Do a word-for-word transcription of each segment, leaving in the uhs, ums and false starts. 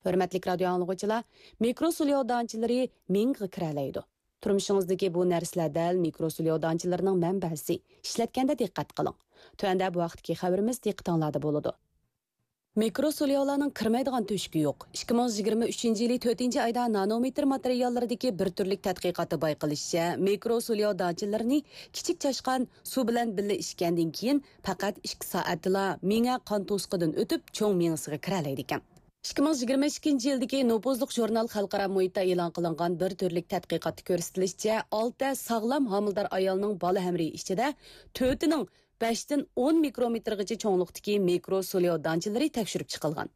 ھۆرمەتلىك رادىيو ئاڭلىغۇچىلار، مىكرو سولياۋ دانچىلىرى مېڭىگە كىرەلەيدۇ. تۇرمۇشىڭىزدىكى بۇ نەرسىلەر دەل مىكرو سولياۋ دانچىلىرىنىڭ مەنبەسى. ئىشلەتكەندە دىققەت قىلىڭ. تۆۋەندە بۇ ھەقتىكى خەۋىرىمىز دىققىتىڭلاردا بولىدۇ. مىكرو سولياۋلارنىڭ كىرمەيدىغان تۆشۈكى يوق. ئىككى مىڭ يىگىرمە ئۈچىنچى يىلى تۆتىنچى ئايدا نانومېتىر ماتېرىياللىرىدىكى بىر تۈرلۈك تەتقىقاتتا بايقىلىشىچە، مىكرو سولياۋ دانچىلىرىنى كىچىك چاشقان سۇ بىلەن بىللە ئىچكەندىن كېيىن، پەقەت ئىككى سائەتتىلا مېڭە قان توسۇقىدىن ئۆتۈپ، چوڭ مېڭىسىگە كىرەلەيدىكەن. ئىككى مىڭ يىگىرمە ئىككىنچى يىلدىكى نوپۇزلۇق ژۇرنال خەلقئارا مۇھىتتا ئېلان قىلىنغان بىر تۈرلۈك تەتقىقاتتا كۆرسىتىلىشىچە، ئالتە ساغلام ھامىلىدار ئايالنىڭ بالا ھەمرىيى ئىچىدە تۆتىنىڭ بەشتىن ئون مىكرومېتىرغىچە چوڭلۇقتىكى مىكرو سولياۋ دانچىلىرى تەكشۈرۈپ چىقىلغان.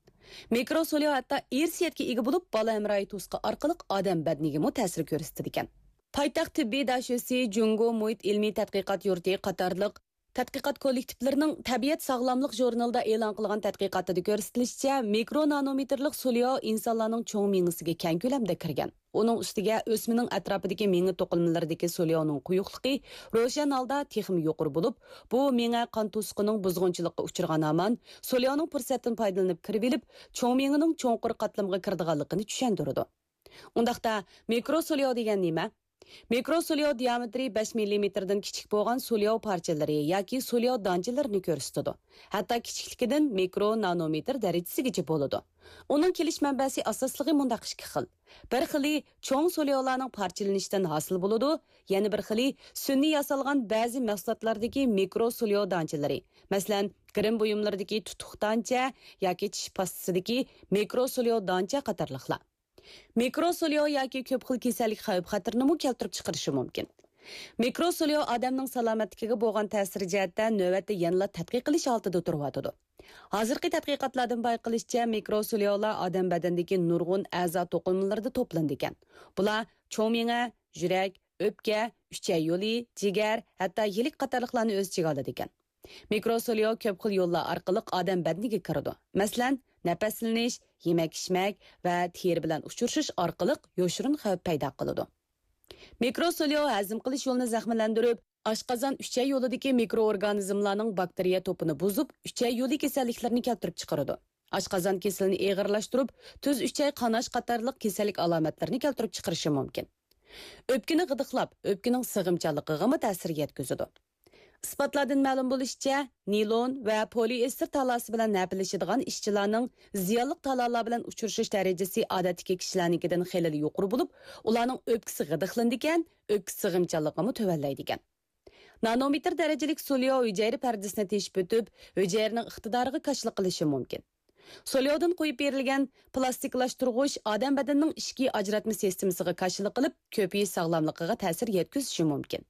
مىكرو سولياۋ ھەتتا ئىرسىيەتكە ئىگە بولۇپ، بالا ھەمراھى توسۇقى ئارقىلىق ئادەم بەدىنىگىمۇ تەسىر كۆرسىتىدىكەن. پايتەخت تېببىي داشۆسى، جۇڭگو مۇھىت ئىلمىي تەتقىقات يۇرتى قاتارلىق تەتقىقات كوللېكتىپلىرىنىڭ تەبىئەت ساغلاملىق ژۇرنىلىدا ئېلان قىلغان تەتقىقاتىدا كۆرسىتىلىشىچە، مىكرو نانومېتىرلىق سولياۋ ئىنسانلارنىڭ چوڭ مېڭىسىگە كەڭ كۆلەمدە كىرگەن. ئۇنىڭ ئۈستىگە ئۆسمىنىڭ ئەتراپىدىكى مېڭە توقۇلمىلىرىدىكى سولياۋنىڭ قويۇقلۇقى روشەن ھالدا تېخىمۇ يۇقىرى بولۇپ، بۇ مېڭە قان توسۇقىنىڭ بۇزغۇنچىلىققا ئۇچرىغان ھامان سولياۋنىڭ پۇرسەتتىن پايدىلىنىپ كىرىۋېلىپ، چوڭ مېڭىنىڭ چوڭقۇر قاتلىمىغا كىرىدىغانلىقىنى چۈشەندۈرىدۇ. ئۇنداقتا، مىكرو سولياۋ دېگەن نېمە؟ مىكرو سولياۋ دىيامېتىرى بەش مىللىمېتىردىن كىچىك بولغان سولياۋ پارچىلىرى ياكى سولياۋ دانچىلىرىنى كۆرسىتىدۇ. ھەتتا كىچىكلىكىدىن مىكرو نانومېتىر دەرىجىسىگىچە بولىدۇ. ئۇنىڭ كېلىش مەنبەسى ئاساسلىقى مۇنداق ئىككى خىل. بىر خىلى چوڭ سولياۋلارنىڭ پارچىلىنىشىدىن ھاسىل بولىدۇ، يەنە بىر خىلى سۈنئىي ياسالغان بەزى مەھسۇلاتلاردىكى مىكرو سولياۋ دانچىلىرى، مەسىلەن، گىرىم بۇيۇملىرىدىكى تۇتۇق دانچە ياكى چىش پاستىسىدىكى مىكرو سولياۋ دانچە قاتارلىقلار. مىكرو سولياۋ ياكى كۆپ خىل كېسەللىك خەۋپ-خەتىرىنىمۇ كەلتۈرۈپ چىقىرىشى مۇمكىن. مىكرو سولياۋ ئادەمنىڭ سالامەتلىكىگە بولغان تەسىرى جەھەتتە نۆۋەتتە يەنىلا تەتقىق قىلىش ھالىتىدە تۇرۇۋاتىدۇ. ھازىرقى تەتقىقاتلاردىن بايقىلىشىچە، مىكرو سولياۋلار ئادەم بەدىنىدىكى نۇرغۇن ئەزا توقۇلمىلىرىدا توپلىنىدىكەن. بۇلار چوڭ مېڭە، يۈرەك، ئۆپكە، ئۈچەي يولى، جىگەر، ھەتتا يىلىك قاتارلىقلارنى ئۆز ئىچىگە ئالىدىكەن. مىكرو سولياۋ كۆپ خىل يوللار ئارقىلىق ئادەم بەدىنىگە كىرىدۇ. مەسىلەن، نەپەسلىنىش، يېمەك-ئىچمەك ۋە تېرە بىلەن ئۇچرىشىش ئارقىلىق يوشۇرۇن خەۋپ پەيدا قىلىدۇ. مىكرو سولياۋ ھەزىم قىلىش يولىنى زەخىملەندۈرۈپ، ئاشقازان، ئۈچەي يولىدىكى مىكرو ئورگانىزملارنىڭ باكتېرىيە توپىنى بۇزۇپ، ئۈچەي يولى كېسەللىكلىرىنى كەلتۈرۈپ چىقىرىدۇ. ئاشقازان كېسىلىنى ئېغىرلاشتۇرۇپ، تۈز ئۈچەي قاناش قاتارلىق كېسەللىك ئالامەتلىرىنى كەلتۈرۈپ چىقىرىشى مۇمكىن. ئۆپكىنى غىدىقلاپ، ئۆپكىنىڭ سىغىمچانلىقىغىمۇ تەسىر يەتكۈزىدۇ. ئىسپاتلاردىن مەلۇم بولۇشىچە، نىلون ۋە پولىئېستېر تالاسى بىلەن ھەپىلىشىدىغان ئىشچىلارنىڭ زىيانلىق تالالار بىلەن ئۇچرىشىش دەرىجىسى ئادەتتىكى كىشىلەرنىڭكىدىن خېلىلا يۇقىرى بولۇپ، ئۇلارنىڭ ئۆپكىسى غىدىقلىنىدىكەن، ئۆپكە سىغىمچانلىقىمۇ تۆۋەنلەيدىكەن. نانومېتىر دەرىجىلىك سولياۋ ھۈجەيرە پەردىسىنى تېشىپ ئۆتۈپ، ھۈجەيرىنىڭ ئىقتىدارىغا كاشىلىق قىلىشى مۇمكىن. سولياۋدىن قويۇپ بېرىلگەن پىلاستىكلاشتۇرغۇچ ئادەم بەدىنىنىڭ ئىچكى ئاجراتما سىستېمىسىغا كاشىلىق قىلىپ، كۆپىيىش ساغلاملىقىغا تەسىر يەتكۈزۈشى مۇمكىن.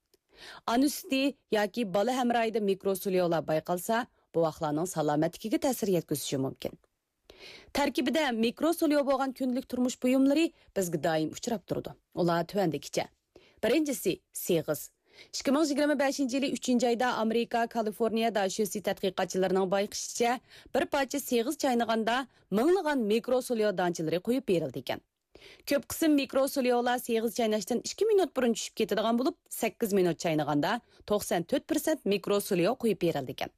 ئانا سۈتى ياكى بالا ھەمراھىدا مىكرو سولياۋلار بايقالسا، بوۋاقلارنىڭ سالامەتلىكىگە تەسىر يەتكۈزۈشى مۇمكىن. تەركىبىدە مىكرو سولياۋ بولغان كۈندىلىك تۇرمۇش بۇيۇملىرى بىزگە دائىم ئۇچراپ تۇرىدۇ. ئۇلار تۆۋەندىكىچە. بىرىنچىسى، سېغىز. ئىككى مىڭ يىگىرمە بەشىنچى يىلى ئۈچىنچى ئايدا ئامېرىكا كالىفورنىيە داشۆسى تەتقىقاتچىلىرىنىڭ بايقىشىچە، بىر پارچە سېغىز چاينىغاندا مىڭلىغان مىكرو سولياۋ دانچىلىرى قويۇپ بېرىلىدىكەن. كۆپ قىسىم مىكرو سولياۋلار سېغىز چايناشتىن ئىككى مىنۇت بۇرۇن چۈشۈپ كېتىدىغان بولۇپ، سەككىز مىنۇت چاينىغاندا توقسان تۆت پىرسەنت مىكرو سولياۋ قويۇپ بېرىلىدىكەن.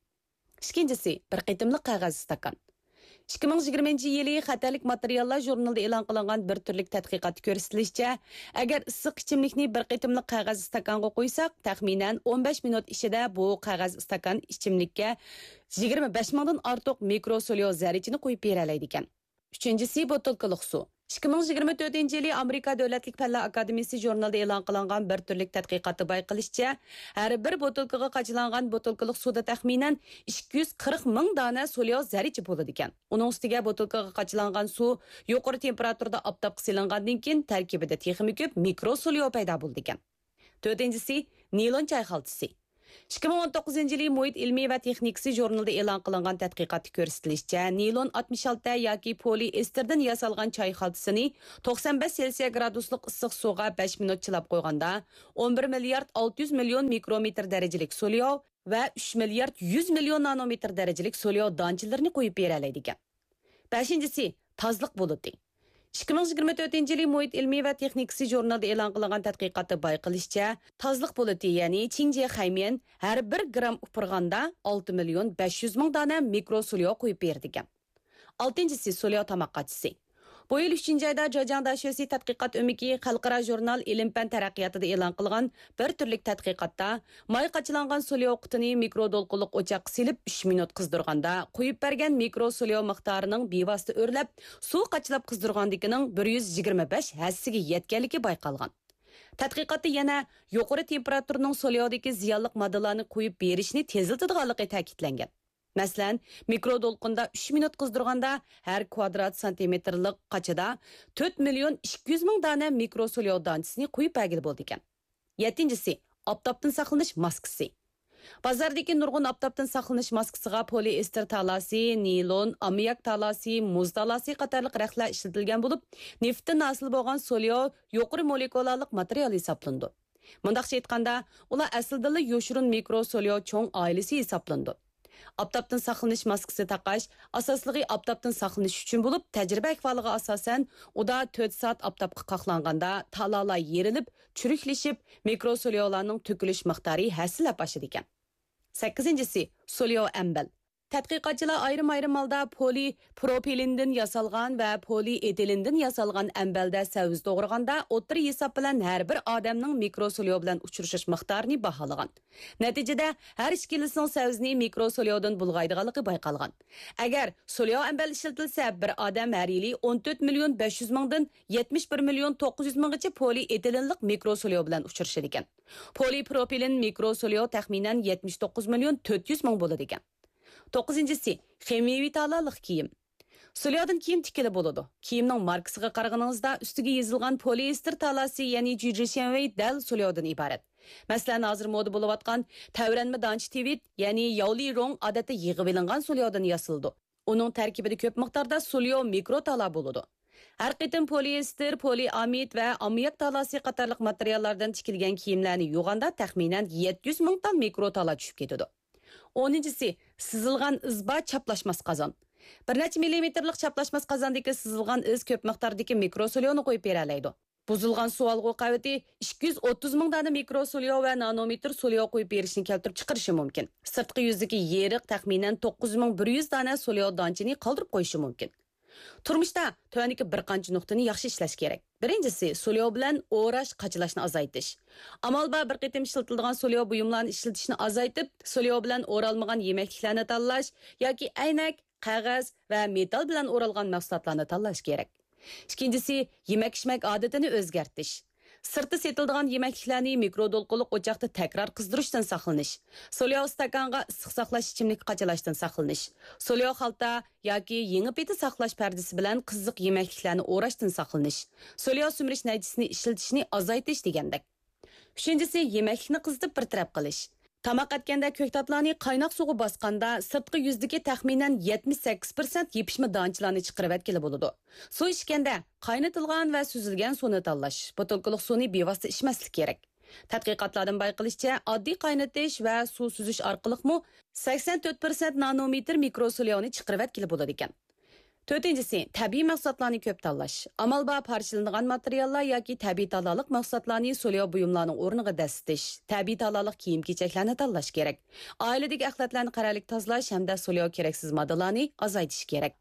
ئىككىنچىسى، بىر قېتىملىق قەغەز ئىستاكان. ئىككى مىڭ يىگىرمىنچى يىلى خەتەرلىك ماتېرىياللار ژۇرنىلىدا ئېلان قىلىنغان بىر تۈرلۈك تەتقىقاتتا كۆرسىتىلىشىچە، ئەگەر ئىسسىق ئىچىملىكنى بىر قېتىملىق قەغەز ئىستاكانغا قۇيساق، تەخمىنەن ئون بەش مىنۇت ئىچىدە بۇ قەغەز ئىستاكان ئىچىملىككە يىگىرمە بەش مىڭدىن ئارتۇق مىكرو سولياۋ زەررىچىنى قۇيۇپ بېرەلەيدىكەن. ئۈچىنچىسى، بوتۇلكىلىق سۇ. ئىككى مىڭ يىگىرمە تۆتىنچى يىلى ئامېرىكا دۆلەتلىك پەنلەر ئاكادېمىيىسى ژۇرنىلىدا ئېلان قىلىنغان بىر تۈرلۈك تەتقىقاتتا بايقىلىشىچە، ھەر بىر بوتۇلكىغا قاچىلانغان بوتۇلكىلىق سۇدا تەخمىنەن ئىككى يۈز قىرىق مىڭ دانە سولياۋ زەررىچە بولىدىكەن. ئۇنىڭ ئۈستىگە بوتۇلكىغا قاچىلانغان سۇ يۇقىرى تېمپېراتۇرىدا ئاپتاپقا سېلىنغاندىن كېيىن، تەركىبىدە تېخىمۇ كۆپ مىكرو سولياۋ پەيدا بولىدىكەن. تۆتىنچىسى، نىلون چاي خالتىسى. ئىككى مىڭ ئون توققۇزىنچى يىلى مۇھىت ئىلمىي ۋە تېخنىكىسى ژۇرنىلىدا ئېلان قىلىنغان تەتقىقاتتا كۆرسىتىلىشىچە، نىلون ئاتمىش ئالتە ياكى پولىئېستېردىن ياسالغان چاي خالتىسىنى توقسان بەش سېلسىيە گرادۇسلۇق ئىسسىق سۇغا بەش مىنۇت چىلاپ قويغاندا، ئون بىر مىليارد ئالتە يۈز مىليون مىكرومېتىر دەرىجىلىك سولياۋ ۋە ئۈچ مىليارد يۈز مىليون نانومېتىر دەرىجىلىك سولياۋ دانچىلىرىنى قويۇپ بېرەلەيدىكەن. بەشىنچىسى، تازىلىق بۇلۇتى. ئىككى مىڭ يىگىرمە تۆتىنچى يىلى مۇھىت ئىلمىي ۋە تېخنىكىسى ژۇرنىلىدا ئېلان قىلىنغان تەتقىقاتتا بايقىلىشىچە، تازىلىق بۇلۇتى، يەنى چىڭجيې خەيميەن ھەر بىر گرام ئۇپرىغاندا ئالتە مىليون بەش يۈز مىڭ دانە مىكرو سولياۋ قويۇپ بېرىدىكەن. ئالتىنچىسى، سولياۋ تاماق قاچىسى. بۇ يىل ئۈچىنچى ئايدا جېجياڭ داشۆسى تەتقىقات ئۆمىكى خەلقئارا ژۇرنال ئىلىم-پەن تەرەققىياتىدا ئېلان قىلغان بىر تۈرلۈك تەتقىقاتتا، ماي قاچىلانغان سولياۋ قۇتىنى مىكرو دولقۇنلۇق ئوچاققا سېلىپ، ئۈچ مىنۇت قىزدۇرغاندا، قۇيۇپ بەرگەن مىكرو سولياۋ مىقدارىنىڭ بىۋاسىتە ئۆرلەپ، سۇ قاچىلاپ قىزدۇرغاندىكىنىڭ بىر يۈز يىگىرمە بەش ھەسسىگە يەتكەنلىكى بايقالغان. تەتقىقاتتا يەنە يۇقىرى تېمپېراتۇرىنىڭ سولياۋدىكى زىيانلىق ماددىلارنى قۇيۇپ بېرىشنى تېزلىتىدىغانلىقى تەكىتلەنگەن. مەسىلەن، مىكرو دولقۇندا ئۈچ مىنۇت قىزدۇرغاندا، ھەر كۋادرات سانتىمېتىرلىق قاچىدا تۆت مىليون ئىككى يۈز مىڭ دانە مىكرو سولياۋ دانچىسىنى قۇيۇپ بەرگىلى بولىدىكەن. يەتتىنچىسى، ئاپتاپتىن ساقلىنىش ماسكىسى. بازاردىكى نۇرغۇن ئاپتاپتىن ساقلىنىش ماسكىسىغا پولىئېستېر تالاسى، نىلون، ئاممىياك تالاسى، مۇز تالاسى قاتارلىق رەختلەر ئىشلىتىلگەن بولۇپ، نېفتتىن ھاسىل بولغان سولياۋ يۇقىرى مولېكۇلالىق ماتېرىيال ھېسابلىنىدۇ. مۇنداقچە ئېيتقاندا، ئۇلار ئەسلىدىنلا يوشۇرۇن مىكرو سولياۋ چوڭ ئائىلىسى ھېسابلىنىدۇ. ئاپتاپتىن ساقلىنىش ماسكىسى تاقاش ئاساسلىقى ئاپتاپتىن ساقلىنىش ئۈچۈن بولۇپ، تەجرىبە ئەھۋالىغا ئاساسەن، ئۇدا تۆت سائەت ئاپتاپقا قاقلانغاندا تالالار يېرىلىپ، چۈرۈكلىشىپ، مىكرو سولياۋلارنىڭ تۆكۈلۈش مىقدارى ھەسسىلەپ ئاشىدىكەن. سەككىزىنچىسى، سولياۋ ئەمبەل. تەتقىقاتچىلار ئايرىم-ئايرىم ھالدا پولىپروپىلېندىن ياسالغان ۋە پولىئېتىلېندىن ياسالغان ئەمبەلدە سەۋزە توغرىغاندا، ئوتتۇرا ھېساب بىلەن ھەر بىر ئادەمنىڭ مىكرو سولياۋ بىلەن ئۇچرىشىش مىقدارىنى باھالىغان. نەتىجىدە، ھەر ئىككىلىسىنىڭ سەۋزىنى مىكرو سولياۋدىن بۇلغايدىغانلىقى بايقالغان. ئەگەر سولياۋ ئەمبەل ئىشلىتىلسە، بىر ئادەم ھەر يىلى ئون تۆت مىليون بەش يۈز مىڭدىن يەتمىش بىر مىليون توققۇز يۈز مىڭغىچە پولىئېتىلېنلىق مىكرو سولياۋ بىلەن ئۇچرىشىدىكەن. پولىپروپىلېن مىكرو سولياۋ تەخمىنەن يەتمىش توققۇز مىليون تۆت يۈز مىڭ بولىدىكەن. توققۇزىنچىسى، خىمىيەۋى تالالىق كىيىم. سولياۋدىن كىيىم تىككىلى بولىدۇ. كىيىمنىڭ ماركىسىغا قارىغىنىڭىزدا، ئۈستىگە يېزىلغان پولىئېستېر تالاسى، يەنى جۈجۈشيەنۋېي دەل سولياۋدىن ئىبارەت. مەسىلەن، ھازىر مودا بولۇۋاتقان تەۋرەنمە دانچە تىۋىت، يەنى ياۋلىرۇڭ ئادەتتە يىغىۋېلىنغان سولياۋدىن ياسىلىدۇ. ئۇنىڭ تەركىبىدە كۆپ مىقداردا سولياۋ مىكرو تالا بولىدۇ. ھەر قېتىم پولىئېستېر، پولىئامىد ۋە ئاممىياك تالاسى قاتارلىق ماتېرىياللاردىن تىكىلگەن كىيىملەرنى يۇغاندا تەخمىنەن يەتتە يۈز مىڭ تال مىكرو تالا چۈشۈپ كېتىدۇ. ئونىنچىسى، سىزىلغان ئىز بار چاپلاشماس قازان. بىر نەچچە مىللىمېتىرلىق چاپلاشماس قازاندىكى سىزىلغان ئىز كۆپ مىقداردىكى مىكرو سولياۋنى قويۇپ بېرەلەيدۇ. بۇزۇلغان سۇ ئالغۇ قەۋىتى ئىككى يۈز ئوتتۇز مىڭ دانە مىكرو سولياۋ ۋە نانومېتىر سولياۋ قويۇپ بېرىشنى كەلتۈرۈپ چىقىرىشى مۇمكىن. سىرتقى يۈزدىكى يېرىق تەخمىنەن توققۇز مىڭ بىر يۈز دانە سولياۋ دانچىنى قالدۇرۇپ قويۇشى مۇمكىن. تۇرمۇشتا تۆۋەندىكى بىر قانچە نۇقتىنى ياخشى ئىشلەش كېرەك. بىرىنچىسى، سولياۋ بىلەن ئوراش، قاچىلاشنى ئازايتىش. ئامال بار بىر قېتىم ئىشلىتىلىدىغان سولياۋ بۇيۇملارنى ئىشلىتىشنى ئازايتىپ، سولياۋ بىلەن ئورالمىغان يېمەكلىكلەرنى تاللاش ياكى ئەينەك، قەغەز ۋە مېتال بىلەن ئورالغان مەھسۇلاتلارنى تاللاش كېرەك. ئىككىنچىسى، يېمەك-ئىچمەك ئادىتىنى ئۆزگەرتىش. سىرتتا سېتىلىدىغان يېمەكلىكلەرنى مىكرو دولقۇنلۇق ئوچاقتا تەكرار قىزدۇرۇشتىن ساقلىنىش. سولياۋ ئىستاكانغا ئىسسىق ساقلاش ئىچىملىكى قاچىلاشتىن ساقلىنىش. سولياۋ خالتا ياكى يېڭى پېتى ساقلاش پەردىسى بىلەن قىزىق يېمەكلىكلەرنى ئوراشتىن ساقلىنىش. سولياۋ سۈمۈرۈش نەيچىسىنى ئىشلىتىشنى ئازايتىش دېگەندەك. ئۈچىنچىسى، يېمەكلىكنى قىزىتىپ بىر تەرەپ قىلىش. تاماق ئەتكەندە كۆكتاتلارنى قايناق سۇغا باسقاندا، سىرتقى يۈزدىكى تەخمىنەن يەتمىش سەككىز پىرسەنت يېپىشما دانچىلارنى چىقىرىۋەتكىلى بولىدۇ. سۇ ئىچكەندە، قاينىتىلغان ۋە سۈزۈلگەن سۇنى تاللاش، بوتۇلكىلىق سۇنى بىۋاسىتە ئىچمەسلىك كېرەك. تەتقىقاتلاردىن بايقىلىشىچە، ئاددىي قاينىتىش ۋە سۇ سۈزۈش ئارقىلىقمۇ سەكسەن تۆت پىرسەنت نانومېتىر مىكرو سولياۋنى چىقىرىۋەتكىلى بولىدىكەن. تۆتىنچىسى، تەبىئىي مەھسۇلاتلارنى كۆپ تاللاش. ئامال بار پارچىلىنىدىغان ماتېرىياللار ياكى تەبىئىي تالالىق مەھسۇلاتلارنى سولياۋ بۇيۇملارنىڭ ئورنىغا دەسسىتىش، تەبىئىي تالالىق كىيىم-كېچەكلەرنى تاللاش كېرەك. ئائىلىدىكى ئەخلەتلەرنى قەرەللىك تازىلاش ھەمدە سولياۋ كېرەكسىز ماددىلارنى ئازايتىش كېرەك.